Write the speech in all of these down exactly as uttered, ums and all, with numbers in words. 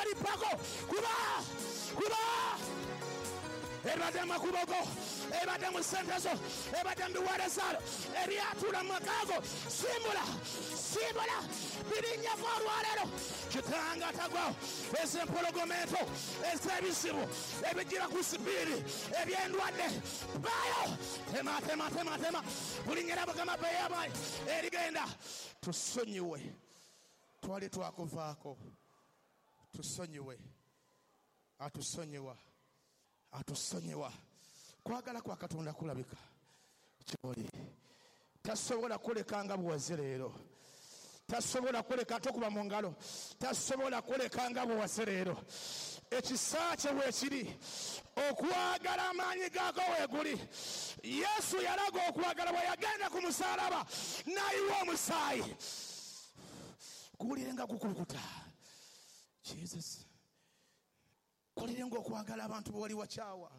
Erippako kuba kuba ebadde mu makubo go, ebadde mu ssente zo, ebadde mu biweereza ebyatuula mu maka go. Simbula, simbula, birinnyako olwaleero. Kitanga tagwawo ez'empologoma ento, ez'ebizibu ebijjira ku sipiiri, eby'endwadde baayo. Tema tema tema tema, bulinnyira Mukama beyamaanyi erigenda. Tusonyiwe, twali twakuvaako. Tusonyiwe, atusonyiwa, atusonyiwa. Kwagala kwa Katonda kulabika kyoli. Tasobola kuleka nga bw'oze leero, tasobola kuleka tokuba mu ngalo, tasobola kuleka nga bw'oze leero. Ekisa kye weekiri, okwagala amaanyi gaako weeguli. Yesu yalaga okwagala bwe yagenda ku musaalaba n'ayiwa omusaayi. Kuwulire nga gukulukuta. Jesus, kuwulire ng'okwagala abantu b'oli wakyawa.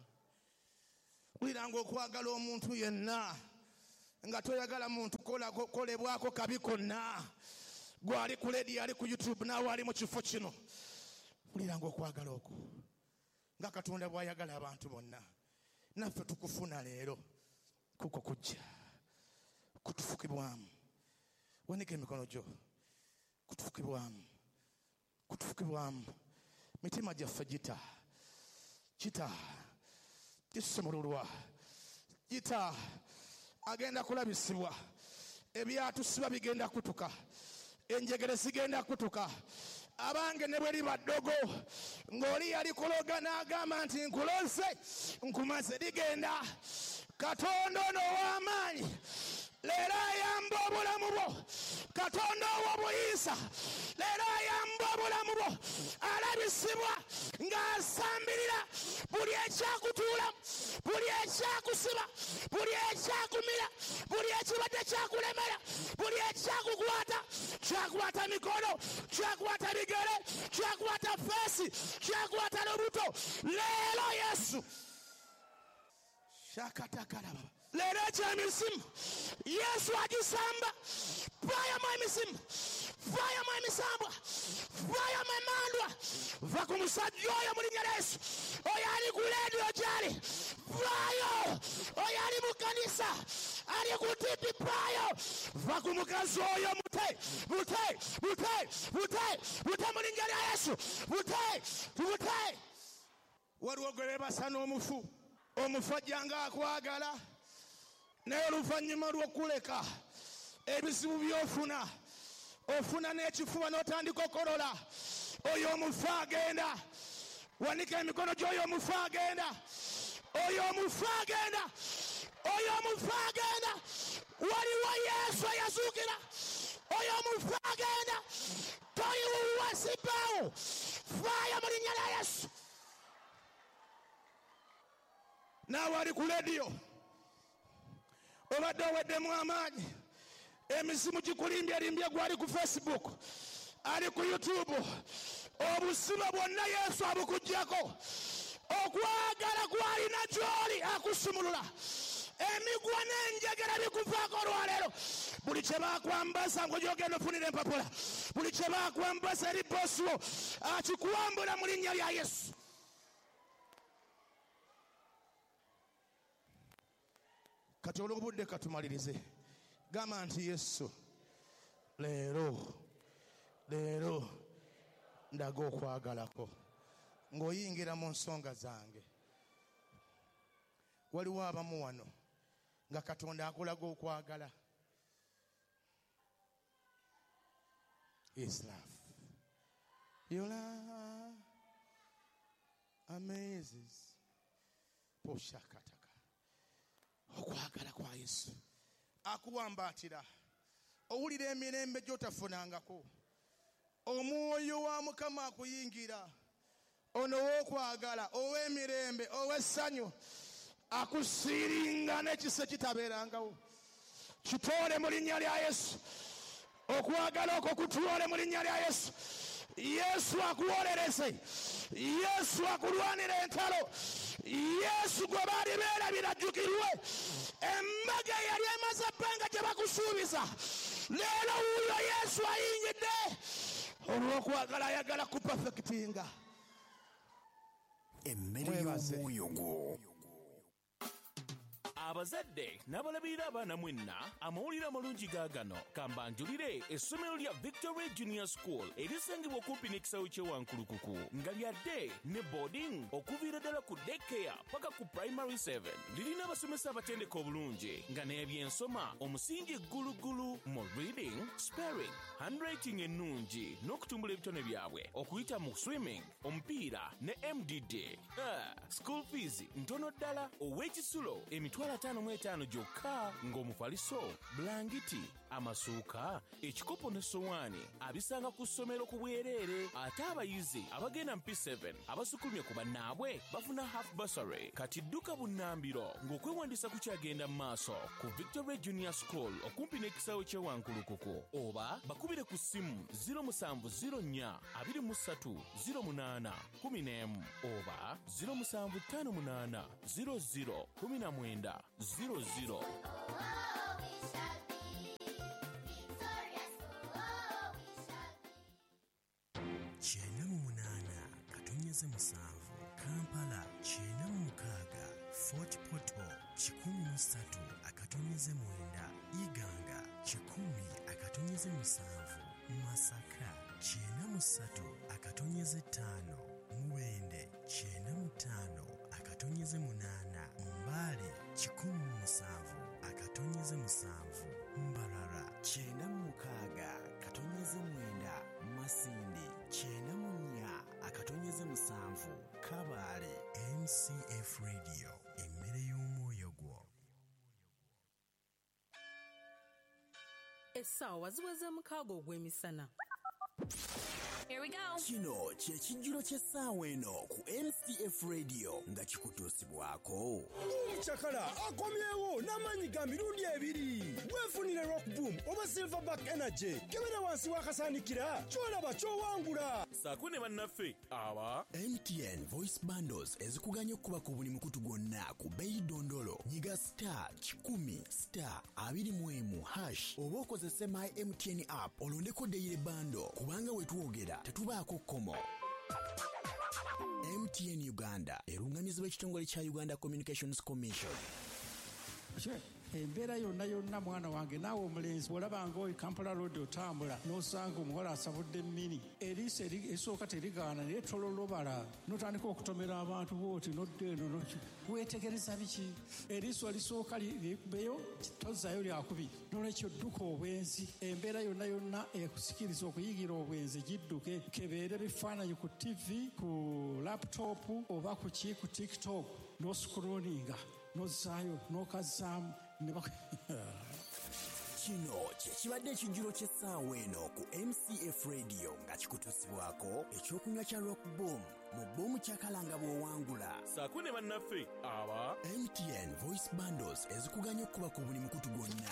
Wulira ng'okwagala omuntu yenna, nga toyagala muntu kolebwako kabi konna. Gwali ku lediyo, ali ku YouTube, naawe ali mu kifo kino. Wulira ng'okwagala okwo nga Katonda bw'ayagala abantu bonna. Naffe tukufuna leero, kuko kujja kutufukibwamu. Wanika emikono gyo, kutufukibwamu, kutufukibwamu. Mitima gyaffe gita kita kisumululwa, gita agenda kulabisibwa. Ebyatusiba bigenda kutuka, enjegere zigenda kutuka. Abange ne bwe liba ddogo ng'oli yali kuloga n'agamba nti nkuloze nkumaze, ligenda. Katonda ono ow'amaanyi leero ayamba obulamu bwo. Katonda ow'obuyinza leero ayamba obulamu bwo. Alabisibwa ng'asambirira buli ekyakutuulamu, buli ekyakusiba, buli ekyakumira, buli ekibadde kyakulemera, buli ekyakukwata. Kyakwata mikono, kyakwata bigere, kyakwata feesi, kyakwata lubuto. Leero Yesu shakatakalaba. Leero eky'emizimu Yesu agisamba. Vaayamu emizimu, vaayamu emisambwa, vaayamu emandwa. Va ku musajja oyo mu linnya lya Yesu. Oyo ali ku leediyo gy'ali, vaayo. Oyo ali mu kkanisa, ali ku T V, vaayo. Va ku mukazi oyo, mute mute mute mute mute mu linnya lya Yesu. Mute mute. Waliwo gwe beebasa n'omufu, omufu ajja nga akwagala, naye oluvannyuma lw'okuleka ebizibu by'ofuna, ofuna n'ekifuba n'otandika okolola. Oyo omufu agenda. Wanika emikono gy'oyo omufu agenda, oyo omufu agenda, oyo omufu agenda. Waliwo Yesu eyazuukira. Oyo omufu agenda. Toyiwuwa sibaawo. Faayo mu linnya lya Yesu. Naawe ali ku lediyo obadde oweddemu amaanyi, emizimu gikulimbyelimbye. Gwali ku Facebook, ali ku YouTube, obusibe bwonna Yesu abukuggyako. Okwagala kwalina gy'oli akusumulula. Emigwa n'enjegere bikuvaako olwaleero. Buli kye bakwambaza ng'ogyogenda ofunira empapula, buli kye bakwambaza eri bosi wo, akikwambula mu linnya lya Yesu. Kati olw'obudde katumalirize. Gamba nti Yesu, leero leero ndaga okwagalako ng'oyingira mu nsonga zange. Waliwo abamu wano nga Katonda akulaga okwagala. His love, your love amazes. Poshakataka. Okwagala kwa Yesu akuwambaatira, owulira emirembe gy'otafunangako. Omwoyo wa Mukama akuyingira, ono ow'okwagala, ow'emirembe, ow'essanyu, akusiringa n'ekisa kitabeerangawo. Kitoole mu linnya lya Yesu. Okwagala okwo kutuwole mu linnya lya Yesu. Yesu akuwolereze, Yesu akulwanira entalo. Yesu gwe baali beerabira ajjukirwe. Embaga eyali emaze ebbanga gye bakusuubiza, leero wuuyo Yesu ayingidde. Olw'okwagala ayagala kupafekitinga. Emmere y'omwoyo gwo. Abazadde n'abalabirira abaana mwenna, amawulire amalungi gaagano. Kambanjulire essomero lya Victory Junior School erisangibwa okumpi n'ekisaawe ky'e Wankulukuku, nga lyadde ne boarding okuviira ddala ku daycare paka ku primary seven. Lirina abasomesa abatendeka obulungi nga n'ebyensoma omusingi ggulugulu mu reading, spelling, handwriting ennungi n'okutumbula ebitone byabwe okuyita mu swimming, omupiira ne M D D. Ah, school fees ntono ddala, ow'ekisulo emitwalo ataano mu etaano gyokka, ng'omufaliso, bulangiti, amasuuka, ekikopo n'essowaani abisanga ku ssomero ku bwereere. Ate abayizi abagenda mu P seven abasukulumye ku bannaabwe bafuna half bursary. Kati dduka bunnambiro ng'okwewandiisa kukyagenda mu maaso ku Victory Junior School okumpi n'ekisaawe ky'e Wankulukuku, oba bakubire ku ssimu zero musanvu zero nnya abiri mu ssatu zero munaana kumi n'emu oba zero musanvu ttaano munaana zero zero kumi na mwenda zero zero. Kyenda mu munaana katonyeze musanvu Kampala, kyenda mu mukaaga Fort Portal, kikumi mu ssatu akatonyeze mwenda Iganga, kikumi akatonyeze musanvu Masaka, kyenda mu ssatu akatonyeze ttaano Mubende, kyenda mu ttaano akatonyeze munaana Mbale, kikumi mu musanvu akatonyeze musanvu Mbarara, kyenda mu mukaaga katonyeze mwenda Masindi, kyenda mu nnya akatonyeze musanvu Kabale. M C F Radio, emmere y'omwoyo gwo. Essaawa ziweze mukaaga ogw'emisana. Here we go. Kino kye kijjulo ky'essaawa eno ku M C F Radio nga kikutuusibwako. Omucakala akomyewo n'amaanyi ga mirundi ebiri. Weefunire Rock Boom oba Silverback Energy. Kebera wansi w'akasaanikira ky'olaba ky'owangula. Saako ne bannaffe aba M T N Voice Bundles ezikuganya okuba ku buli mukutu gwonna ku bbeeyi dondolo. Nyiga star kikumi star abiri mu emu hash oba okozese My M T N app olondeko daily bundle, kubanga we twogera tetubaako kkomo. M T N Uganda erungamizibwa ekitongole kya Uganda Communications Commission. Embeera yonna yonna mwana wange naawe omulenzi bw'olabanga oyo Kampala Road otambula n'osanga omuwala asabudde emmini, eriiso esooka terigaana naye tololobala n'otandika okutomera abantu bw'oti n'odda eno weetegereza biki? Eriiso erisooka likubeyo tozzayo lyakubiri. N'olwekyo dduka obwenzi. Embeera yonna yonna ekusikiriza okuyigira obwenzi gidduke, kebeere bifaananyi ku T V, ku laptop oba ku ki ku TikTok n'oscrollinga n'ozzaayo n'okazzaamu. Kino kye kibadde ekijjulo ky'essaawa eno ku M C F Radio nga kikutuusibwako ekyokunywa kya Rock Boom mu bbomu kyakalanga bw'owangula. Saako ne bannaffe aba M T N Voice Bundles ezikuganya okuba ku buli mukutu gwonna.